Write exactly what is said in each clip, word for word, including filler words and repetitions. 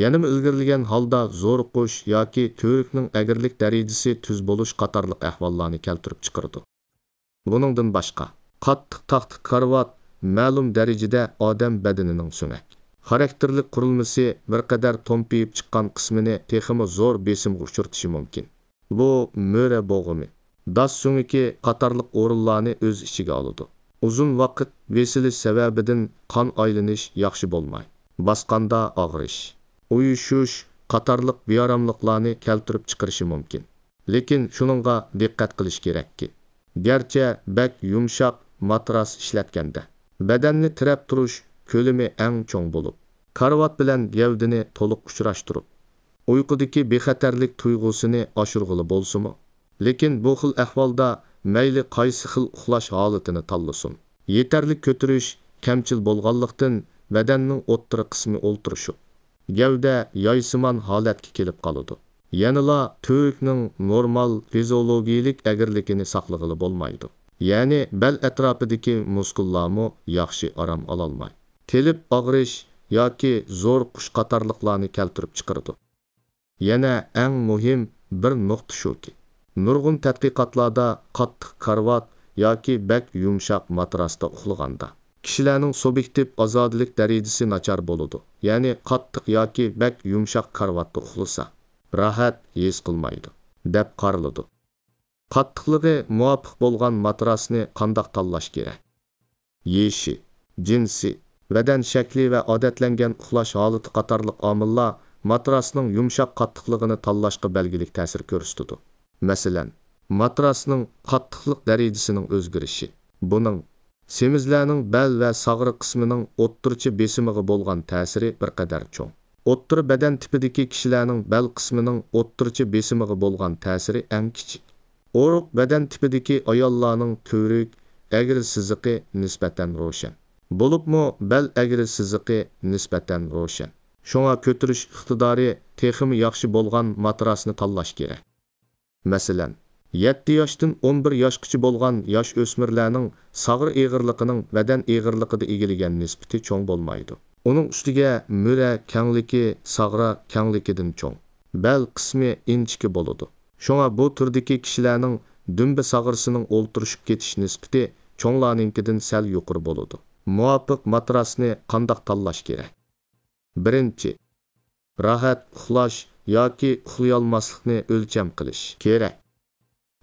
يەنىمۇ ئىلگىرىلىگەن ھالدا زورۇقۇش ياكى تۈۋرۈكنىڭ ئەگرىلىك دەرىجىسى تۈز بولۇش قاتارلىق ئەھۋاللارنى كەلتۈرۈپ چىقىرىدۇ. بۇنىڭدىن باشقا، قاتتىق تاختا كارىۋات مەلۇم دەرىجىدە ئادەم بەدىنىنىڭ سۆڭەك خاراكتېرلىك قۇرۇلمىسى بىر قەدەر تومپىيىپ چىققان قىسمىنى تېخىمۇ زور بېسىمغا ئۇچرىتىشى مۇمكىن. بۇ مۈرە بوغۇمى، داس سۆڭىكى قاتارلىق ئورۇنلارنى ئۆز ئىچىگە ئالىدۇ. ئۇزۇن ۋاقىت بېسىلىش سەۋەبىدىن قان ئايلىنىش ياخشى بولماي، باسقاندا ئاغرىش، ئۇيۇشۇش قاتارلىق بىئاراملىقلارنى كەلتۈرۈپ چىقىرىشى مۇمكىن. لېكىن شۇنىڭغا دىققەت قىلىش كېرەككى، گەرچە بەك يۇمشاق ماتراس ئىشلەتكەندە، بەدەننى تىرەپ تۇرۇش كۆلىمى ئەڭ چوڭ بولۇپ، كارىۋات بىلەن گەۋدىنى تولۇق ئۇچراشتۇرۇپ، ئۇيقۇدىكى بىخەتەرلىك تۇيغۇسىنى ئاشۇرغىلى بولسىمۇ، لېكىن بۇ خىل ئەھۋالدا مەيلى قايسى خىل ئۇخلاش ھالىتىنى تاللىسۇن، يېتەرلىك كۆتۈرۈش كەمچىل بولغانلىقتىن، بەدەننىڭ ئوتتۇرا قىسمى ئولتۇرۇشۇپ، گەۋدە يايسىمان ھالەتكە كېلىپ قالىدۇ. يەنىلا تۈۋرۈكنىڭ نورمال فىزىئولوگىيىلىك ئەگرىلىكىنى ساقلىغىلى بولمايدۇ. يەنى بەل ئەتراپىدىكى مۇسكۇللارمۇ ياخشى ئارام ئالالماي، تېلىپ ئاغرىش ياكى زورۇقۇش قاتارلىقلارنى كەلتۈرۈپ چىقىرىدۇ. يەنە ئەڭ مۇھىم بىر نۇقتا شۇكى، نۇرغۇن تەتقىقاتلاردا قاتتىق كارىۋات ياكى بەك يۇمشاق ماتراستا ئۇخلىغاندا، كىشىلەرنىڭ سۇبيېكتىپ ئازادىلىك دەرىجىسى ناچار بولىدۇ، يەنى قاتتىق ياكى بەك يۇمشاق كارىۋاتتا ئۇخلىسا، راھەت ھېس قىلمايدۇ، دەپ قارىلىدۇ. قاتتىقلىقى مۇۋاپىق بولغان ماتراسنى قانداق تاللاش كېرەك؟ يېشى، جىنسى، بەدەن شەكلى ۋە ئادەتلەنگەن ئۇخلاش ھالىتى قاتارلىق ئامىللار ماتراسنىڭ يۇمشاق قاتتىقلىقىنى تاللاشقا بەلگىلىك تەسىر كۆرسىتىدۇ. مەسىلەن، ماتراسنىڭ قاتتىقلىق دەرىجىسىنىڭ ئۆزگىرىشى. بۇنىڭ سېمىزلەرنىڭ بەل ۋە ساغرا قىسمىنىڭ ئوتتۇرىچە بېسىمىغا بولغان تەسىرى بىر قەدەر چوڭ. ئوتتۇرا بەدەن تىپىدىكى كىشىلەرنىڭ بەل قىسمىنىڭ ئوتتۇرىچە بېسىمىغا بولغان تەسىرى ئەڭ كىچىك. ئورۇق بەدەن تىپىدىكى ئاياللارنىڭ تۈۋرۈك، ئەگرى سىزىقى نىسبەتەن روشەن. بولۇپمۇ بەل ئەگرى سىزىقى نىسبەتەن روشەن. شۇڭا كۆتۈرۈش ئىقتىدارى تېخىمۇ ياخشى بولغان ماتراسنى تاللاش كېرەك. مەسىلەن، يەتتە ياشتىن ئون بىر ياشقىچە بولغان ياش ئۆسمۈرلەرنىڭ ساغرا ئېغىرلىقىنىڭ بەدەن ئېغىرلىقىدا ئىگىلىگەن نىسبىتى چوڭ بولمايدۇ. ئۇنىڭ ئۈستىگە مۈرە كەڭلىكى، ساغرا كەڭلىكىدىن چوڭ، بەل قىسمى ئىنچىكە بولىدۇ. شۇڭا بۇ تۈردىكى كىشىلەرنىڭ دۈمبە ساغرىسىنىڭ ئولتۇرۇشۇپ كېتىش نىسبىتى چوڭلارنىڭكىدىن سەل يۇقىرى بولىدۇ. مۇۋاپىق ماتراسنى قانداق تاللاش كېرەك؟ بىرىنچى، راھەت ئۇخلاش ياكى ئۇخلىيالماسلىقنى ئۆلچەم قىلىش كېرەك.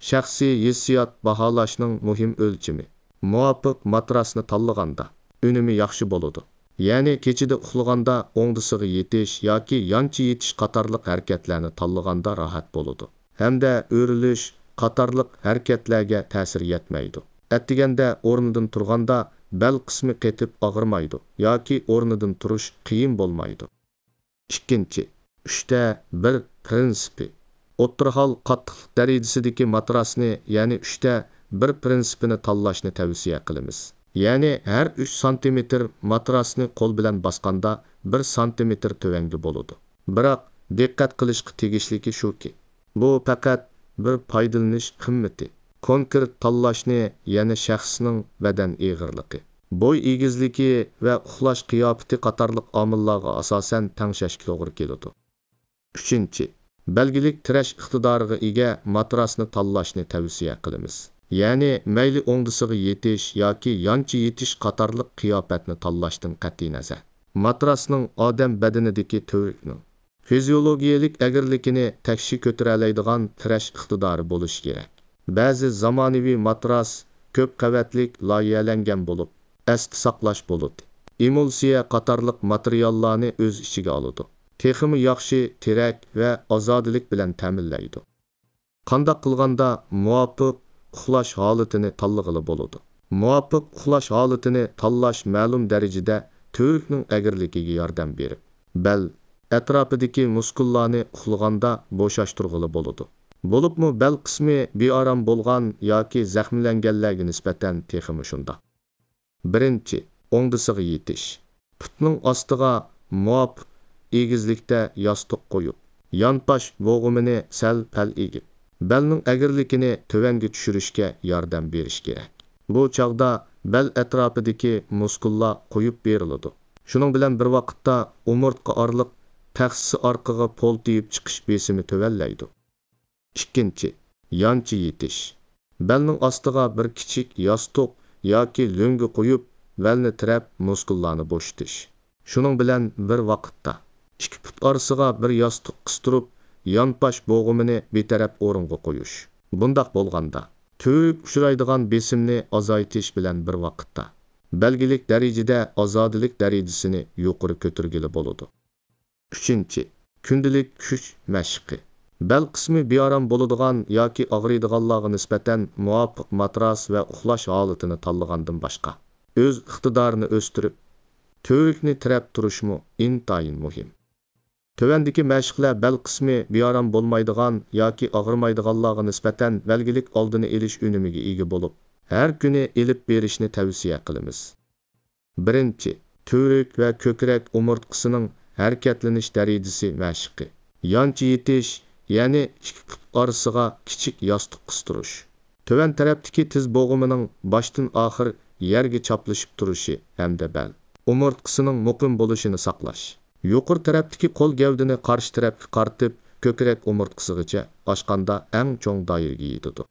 شەخسىي ھېسسىيات باھالاشنىڭ مۇھىم ئۆلچىمى. مۇۋاپىق ماتراسنى تاللىغاندا، ئۈنۈمى ياخشى بولىدۇ. يەنى كېچىدە ئۇخلىغاندا ئوڭدىسىغا يېتىش ياكى يانچە يېتىش قاتارلىق ھەرىكەتلەرنى تاللىغاندا راھەت بولىدۇ ھەمدە ئۆرۈلۈش قاتارلىق ھەرىكەتلەرگە تەسىر يەتمەيدۇ. ئەتىگەندە ئورنىدىن تۇرغاندا بەل قىسمى قېتىپ ئاغرىمايدۇ ياكى ئورنىدىن تۇرۇش قىيىن بولمايدۇ. ئىككىنچى، ئۈچتە بىر پىرىنسىپى. ئوتتۇرا ھال قاتتىقلىق دەرىجىسىدىكى ماتراسنى، يەنى ئۈچتە بىر پىرىنسىپىنى تاللاشنى تەۋسىيە قىلىمىز. يەنى ھەر ئۈچ سانتىمېتىر ماتراسنى قول بىلەن باسقاندا بىر سانتىمېتىر تۆۋەنگە بولىدۇ. بىراق، دىققەت قىلىشقا تېگىشلىكى شۇكى، بۇ پەقەت بىر پايدىلىنىش قىممىتى. كونكرېت تاللاشنى يەنە شەخسنىڭ بەدەن ئېغىرلىقى، بوي ئېگىزلىكى ۋە ئۇخلاش قىياپىتى قاتارلىق ئامىللارغا ئاساسەن تەڭشەشكە توغرا كېلىدۇ. ئۈچىنچى، بەلگىلىك تىرەش ئىقتىدارىغا ئىگە ماتراسنى تاللاشنى تەۋسىيە قىلىمىز. يەنى مەيلى ئوڭدىسىغا يېتىش ياكى يانچە يېتىش قاتارلىق قىياپەتنى تاللاشتىن قەتئىينەزەر، ماتراسنىڭ ئادەم بەدىنىدىكى تۈۋرۈكنىڭ فىزىيولوگىيەلىك ئەگرىلىكىنى تەكشى كۆتۈرەلەيدىغان تىرەش ئىقتىدارى بولۇشى كېرەك. بەزى زامانىۋى ماتراس كۆپ قەۋەتلىك لايىھەلەنگەن بولۇپ، ئەستە ساقلاش بولۇتى، ئېمۇلسىيە قاتارلىق ماتېرىياللارنى ئۆز ئىچىگە ئالىدۇ. تېخىمۇ ياخشى تىرەك ۋە ئازادىلىك بىلەن تەمىنلەيدۇ. قانداق قىلغاندا مۇۋاپىق ئۇخلاش ھالىتىنى تاللىغىلى بولىدۇ؟ مۇۋاپىق ئۇخلاش ھالىتىنى تاللاش مەلۇم دەرىجىدە تۈۋرۈكنىڭ ئەگرىلىكىگە ياردەم بېرىپ، بەل ئەتراپىدىكى مۇسكۇللارنى ئۇخلىغاندا بوشاشتۇرغىلى بولىدۇ. بولۇپمۇ بەل قىسمى بىئارام بولغان ياكى زەخىملەنگەنلەرگە نىسبەتەن تېخىمۇ شۇنداق. بىرىنچى، ئوڭدىسىغا يېتىش. پۇتنىڭ ئاستىغا مۇۋاپىق ئېگىزلىكتە ياستۇق قويۇپ، يانپاش بوغۇمىنى سەل پەل ئېگىپ، بەلنىڭ ئەگرىلىكىنى تۆۋەنگە چۈشۈرۈشكە ياردەم بېرىش كېرەك. بۇ چاغدا بەل ئەتراپىدىكى مۇسكۇللار قويۇپ بېرىلىدۇ. شۇنىڭ بىلەن بىر ۋاقىتتا ئومۇرتقا ئارىلىق تەخسىسى ئارقىغا پول تېيىپ چىقىش بېسىمى تۆۋەنلەيدۇ. ئىككىنچى، يانچە يېتىش. بەلنىڭ ئاستىغا بىر كىچىك ياستۇق ياكى لۆڭگە قويۇپ، بەلنى تىرەپ، مۇسكۇللارنى بوشىتىش. شۇنىڭ بىلەن بىر ۋاقىتتا، ئىككى پۇت ئارىسىغا بىر ياستۇق قىستۇرۇپ، يانپاش بوغۇمىنى بىتەرەپ ئورۇنغا قويۇش. بۇنداق بولغاندا، تۈۋرۈك ئۇچرايدىغان بېسىمنى ئازايتىش بىلەن بىر ۋاقىتتا، بەلگىلىك دەرىجىدە ئازادىلىك دەرىجىسىنى يۇقىرى كۆتۈرگىلى بولىدۇ. ئۈچىنچى، كۈندىلىك كۈچ مەشقى. بەل قىسمى بىئارام بولىدىغان ياكى ئاغرىيدىغانلارغا نىسبەتەن مۇۋاپىق ماتراس ۋە ئۇخلاش ھالىتىنى تاللىغاندىن باشقا، ئۆز ئىقتىدارىنى ئۆستۈرۈپ، تۈۋرۈكنى تىرەپ تۇرۇشمۇ ئىنتايىن مۇھىم. تۆۋەندىكى مەشىقلەر بەل قىسمى بىئارام بولمايدىغان ياكى ئاغرىمايدىغانلارغا نىسبەتەن بەلگىلىك ئالدىنى ئېلىش ئۈنۈمىگە ئىگە بولۇپ، ھەر كۈنى ئېلىپ بېرىشنى تەۋسىيە قىلىمىز. بىرىنچى، تۈۋرۈك ۋە كۆكرەك ئومۇرتقىسىنىڭ ھەرىكەتلىنىش دەرىجىسى مەشىقى. يانچە يېتىش، يەنى ئىككى پۇت ئارىسىغا كىچىك ياستۇق قىستۇرۇش. تۆۋەن تەرەپتىكى تىز بوغۇمىنىڭ باشتىن ئاخىر يەرگە چاپلىشىپ تۇرۇشى ھەمدە بەل ئومۇرتقىسىنىڭ مۇقىم بولۇشىنى ساقلاش. يۇقىرى تەرەپتىكى قول گەۋدىنى قارشى تەرەپكە قارىتىپ، كۆكرەك ئومۇرتقىسىغىچە ئاچقاندا ئەڭ چوڭ دائىرىگە يېتىدۇ.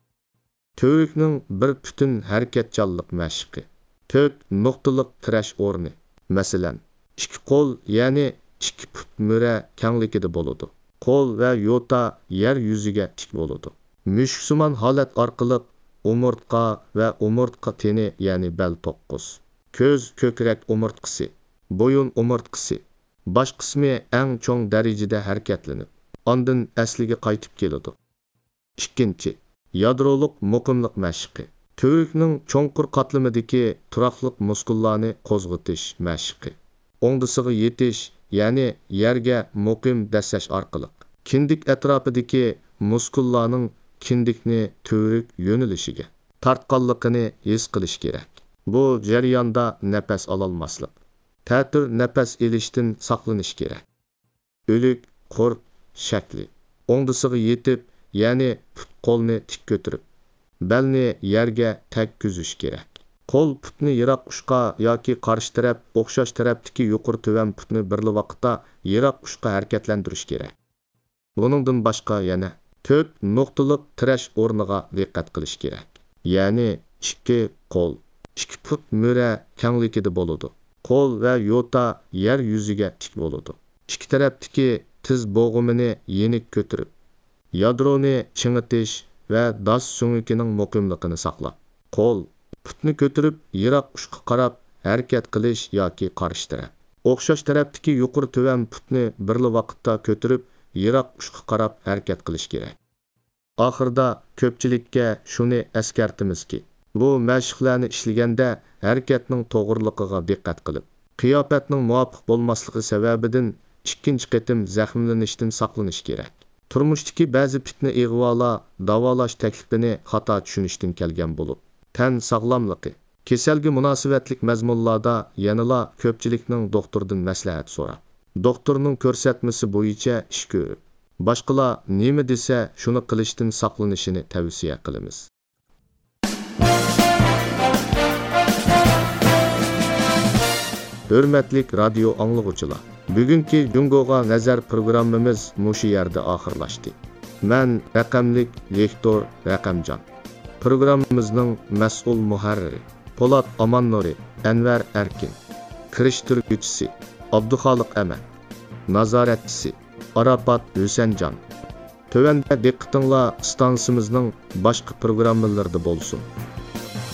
تۈۋرۈكنىڭ بىر پۈتۈن ھەرىكەتچانلىق مەشقى. تۆت نۇقتىلىق تىرەش ئورنى. مەسىلەن، ئىككى قول، يەنى ئىككى پۇت مۈرە كەڭلىكىدە بولىدۇ. قول ۋە يوتا يەر يۈزىگە تىك بولىدۇ. مۈشۈكسىمان ھالەت ئارقىلىق ئومۇرتقا ۋە ئومۇرتقا تېنى، يەنى بەل توققۇز، كۆز، كۆكرەك ئومۇرتقىسى، بويۇن ئومۇرتقىسى، باش قىسمى ئەڭ چوڭ دەرىجىدە ھەرىكەتلىنىپ، ئاندىن ئەسلىگە قايتىپ كېلىدۇ. ئىككىنچى، يادرولۇق مۇقىملىق مەشقى. تۈۋرۈكنىڭ چوڭقۇر قاتلىمىدىكى تۇراقلىق مۇسكۇللارنى قوزغىتىش مەشقى. ئوڭدىسىغا يېتىش، يەنى يەرگە مۇقىم دەسسەش ئارقىلىق، كىندىك ئەتراپىدىكى مۇسكۇللارنىڭ كىندىكنى تۈۋرۈك يۆنىلىشىگە تارتقانلىقىنى ھېس قىلىش كېرەك. بۇ جەرياندا نەپەس ئالالماسلىق، تەتۈر نەپەس ئېلىشتىن ساقلىنىش كېرەك. ئۆلۈك قۇر شەكلى. ئوڭدىسىغا يېتىپ، يەنى پۇت قولنى تىك كۆتۈرۈپ، بەلنى يەرگە تەگكۈزۈش كېرەك. قول پۇتنى يىراق ئۇچقا ياكى قارشى تەرەپ، ئوخشاش تەرەپتىكى يۇقىرى تۆۋەن پۇتنى بىرلا ۋاقىتتا يىراق ئۇچقا ھەرىكەتلەندۈرۈش كېرەك. بۇنىڭدىن باشقا يەنە تۆت نۇقتىلىق تىرەش ئورنىغا دىققەت قىلىش كېرەك. يەنى ئىككى قول، ئىككى پۇت مۈرە كەڭلىكىدە بولىدۇ. قول ۋە يوتا يەر يۈزىگە تىك بولىدۇ. ئىككى تەرەپتىكى تىز بوغۇمىنى يېنىك كۆتۈرۈپ، يادرونى چىڭىتىش ۋە داس سۆڭىكىنىڭ مۇقىملىقىنى ساقلاپ، قول، پۇتنى كۆتۈرۈپ يىراق ئۇچقا قاراپ ھەرىكەت قىلىش ياكى قارشى تەرەپ، ئوخشاش تەرەپتىكى يۇقىرى تۆۋەن پۇتنى بىرلا ۋاقىتتا كۆتۈرۈپ يىراق ئۇچقا قاراپ ھەرىكەت قىلىش كېرەك. ئاخىرىدا كۆپچىلىككە شۇنى ئەسكەرتىمىزكى، بۇ مەشىقلەرنى ئىشلىگەندە ھەرىكەتنىڭ توغرىلىقىغا دىققەت قىلىپ، قىياپەتنىڭ مۇۋاپىق بولماسلىقى سەۋەبىدىن ئىككىنچى قېتىم زەخىملىنىشتىن ساقلىنىش كېرەك. تۇرمۇشتىكى بەزى پىتنە ئىغۋالار داۋالاش تەكلىپىنى خاتا چۈشىنىشتىن كەلگەن بولۇپ، تەن ساغلاملىقى، كېسەلگە مۇناسىۋەتلىك مەزمۇنلاردا يەنىلا كۆپچىلىكنىڭ دوختۇردىن مەسلىھەت سوراپ، دوختۇرنىڭ كۆرسەتمىسى بويىچە ئىش كۆرۈپ، باشقىلار نېمە دېسە، شۇنى قىلىشتىن ساقلىنىشىنى تەۋسىيە قىلىمىز. ھۆرمەتلىك رادىيو ئاڭلىغۇچىلار، بۈگۈنكى جۇڭگوغا نەزەر پروگراممىمىز مۇشۇ يەردە ئاخىرلاشتى. مەن رەقەملىك ۋىكتور رەقەمجان. پروگراممىمىزنىڭ مەسئۇل مۇھەررىرى پولات ئاماننۇرى، ئەنۋەر ئەركىن. كىرىشتۈرگۈچىسى ئابدۇخالىق ئەمەت. نازارەتچىسى ئاراپات ھۈسەنجان. تۆۋەندە دىققىتىڭلار ئىستانسىمىزنىڭ باشقا پروگراممىلىرىدا بولسۇن.